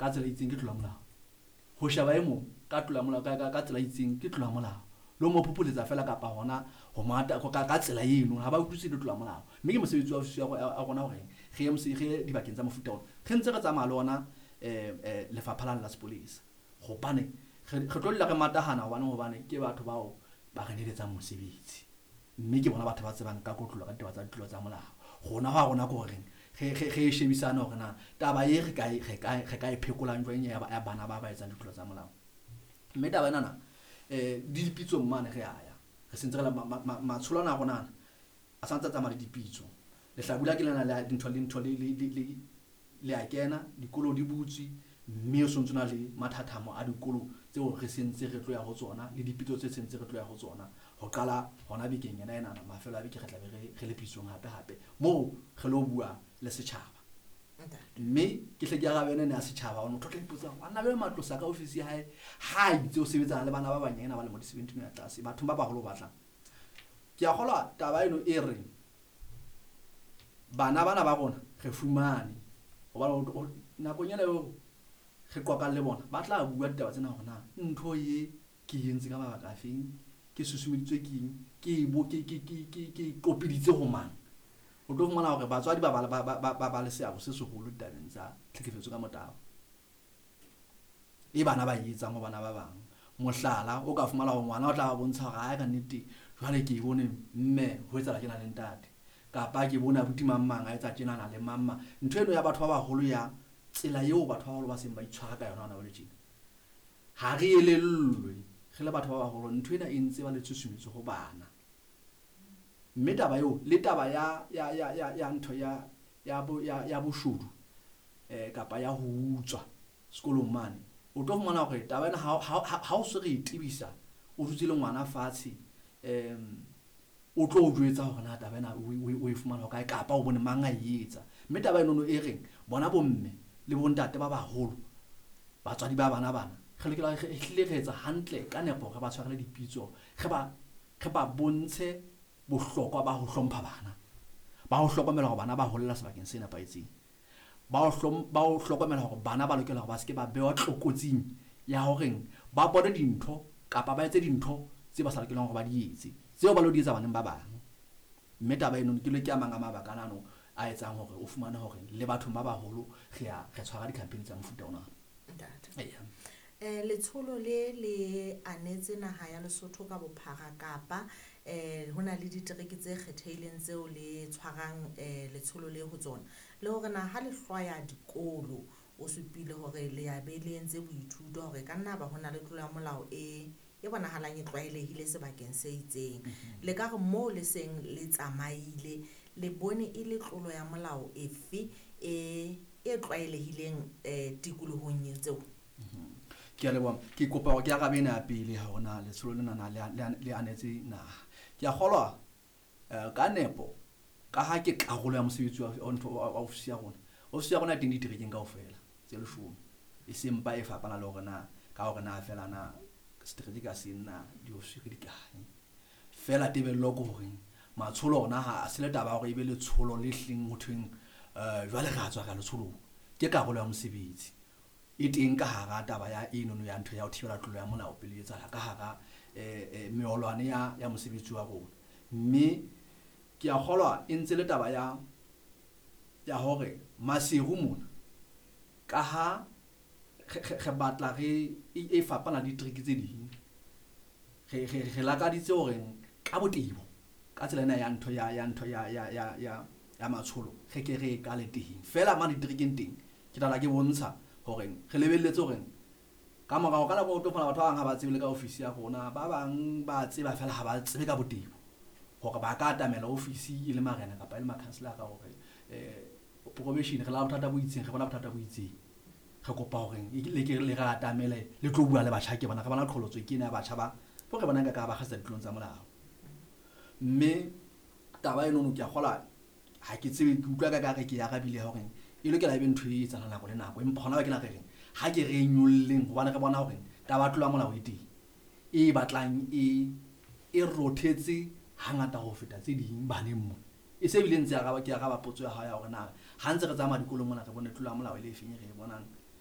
ka tsela e itseng ke tlola molao. Ho sheba e mong ka tlola molao ka tsela e itseng ke tlola molao. Le ho mo phopholetsa feela kapa hona ho mo ata ka tsela eno ha ba utlwisise le tlola molao. Mme ke mosebetsi wa ofisi ya rona hore re ye dibakeng tsa mofuta ona. Re ntse re tsamaya le ona lefapha lane la sepolesa. Hobane re tlo dula re matahana hobane ke batho bao ba re neletsang mosebetsi. Mme ke bona batho ba tsebang ka kotlolo ka ditaba tsa ditlolo tsa molao. Rona ho a rona ke horeng re shebisane hore na taba e re ka e phekolang jwang ya bana ba etsang ditlolo tsa molao. Mme taba enana di dipitsong mane re a ya. Re sentse re matsholo ana a rona a santse a tsamaya le dipitso. Lehlabula ke lena le dintho le ntho le a kena, dikolo di butswe, mme o sontso na le mathathamo a dikolo tseo re sentse re tlo ya ho tsona le dipitso tse sentse re tlo ya ho tsona. Ho qala hona bekeng ena enana mafelo a beke re tla be re le pitsong hape hape moo re lo bua le setjhaba. Mme ke hle ke arabe ena ya setjhaba hobane motho o tla ipotsa hore banna ba Matlosa ka ofisi ya hae ha itse o sebetsana le bana ba banyane ba lemo di 17 ya tlase bathong ba baholo ba batlang. Ke a kgolwa taba eno e reng bana bana ba rona re fumane hobane nakong ena eo re qoqang le bona ba tla bua ditaba tsena hore na ntho e ke entse ka mabaka a feng, ke susumeditswe ke eng, ke qopiditse ho mang. O tlo fumana hore batswadi ba le seabo se seholo ditabeng tsa tlhekefetso ka motabo e bana ba e etsang ho bana ba bang. Mohlala o ka fumana hore ngwana o tla ba bontsha hore ae ka nnete jwale ke bone mme ho etsahala tjena le ntate, kapa ke bone abuti mang mang a etsa tjenana le mang mang. Ntho eno ya batho ba baholo ya tsela eo batho ba baholo ba seng ba itshwara ka yona hona jwale tjena, ha re elellwe re le batho ba baholo ntho ena e ntse ba le tshusumetso ho bana. Mme taba eo le taba ya ntho ya boshodu kapa ya ho utswa sekolong mane, o tlo fumana hore taba ena ha o se re e tebisa, o dutse le ngwana fatshe, o tlo o jwetsa hore na taba ena o e fumana hokae kapa o bone mang a e etsa. Mme taba enono e reng bona bomme le bontate ba baholo batswadi ba bana bana re lokela re hlile re etsa hantle ka nepo re ba tshwarele dipitso, re ba bontshe bohlokwa ba ho hlompha bana, ba ho hlokomela hore bana ba holela sebakeng se nepahetseng, ba ho hlokomela hore bana ba lokela hore ba seke ba bewa tlokotsing ya horeng ba bone dintho kapa ba etse dintho tse ba sa lokelang hore ba di etse tseo ba lo di etsa baneng ba bang. Mme taba eno ke le ke a mang a mabaka ano a etsang hore o fumane hore le bathong ba baholo re tshwara di-campaign tsa mofuta ona. Ntate. Letsholo le anetse naha ya Lesotho ka bophara kapa ho na le ditereke tse kgethehileng tseo le tshwarang letsholo le ho tsona, le hore na ha le hlwaya dikolo o supile hore le ya be le entse boithuto hore ka nna ba ho na le tlolo ya molao e bonahalang e tlwaelehile sebakeng se itseng. Le ka re moo le seng le tsamaile le bone e le tlolo ya molao efe e tlwaelehileng tikolohong e tseo? Ke a leboha. Ke kopa hore ke arabe ena ya pele ha hona letsholo lena na le anetse naha. Ke a kgolwa ka nepo ka ha ke karolo ya mosebetsi wa ofisi ya rona. Ofisi ya rona e teng diterekeng kaofela tse 10. E seng mpa e fapana le hore na ka hore na feela na setereke ka seng na diofisi re di kae. Feela tebello ke hore matsholo ona ha se le taba ya hore e be letsholo le hleng ho thweng jwale re a tswa ka letsholong. Ke karolo ya mosebetsi e teng ka hara taba ya enono ya ntho ya ho thibela tlolo ya molao pele e etsahala ka hara meolwane ya mosebetsi wa rona. Mme ke a kgolwa e ntse le taba ya hore Maseru mona ka ha re batla re e fapana le ditereke tse ding, re lakaditse hore ka botebo ka tsela ena ya ntho ya ntho ya matsholo re ke re kale teng. Feela mane diterekeng teng ke tla ke bontsha hore re lebelletse hore ka morao ka nako o tlo fumana batho ba bang ha ba tsebe le ka ofisi ya rona, ba bang ba tseba feela ha ba tsebe ka botebo hore ba ka atamela ofisi e le marena kapa e le makhanselara hore probation re la bothata bo itseng, re bona bothata bo itseng, re kopa hore le ke le re atamele le tlo bua le batjha. Ke bona re bona qholotso ke ena ya batjha ba bo re bona ka ba kgasa ditlolong tsa molao. Mme taba eno ke a kgolwa ha ke tsebe, ke utlwa ka re ke arabile hore e lokela ebe ntho e etsahalang nako le nako, empa hona ba ke na re reng ha ke re nyolleng hobane re bona hore taba ya tlolo ya molao e teng e batlang e rothetse hangata ho feta tse ding baneng mona. E se bile ntse araba, ke araba potso ya hao ya hore na ha ntse re tsamaya dikolong mona re bone tlolo ya molao e le efeng e re e bonang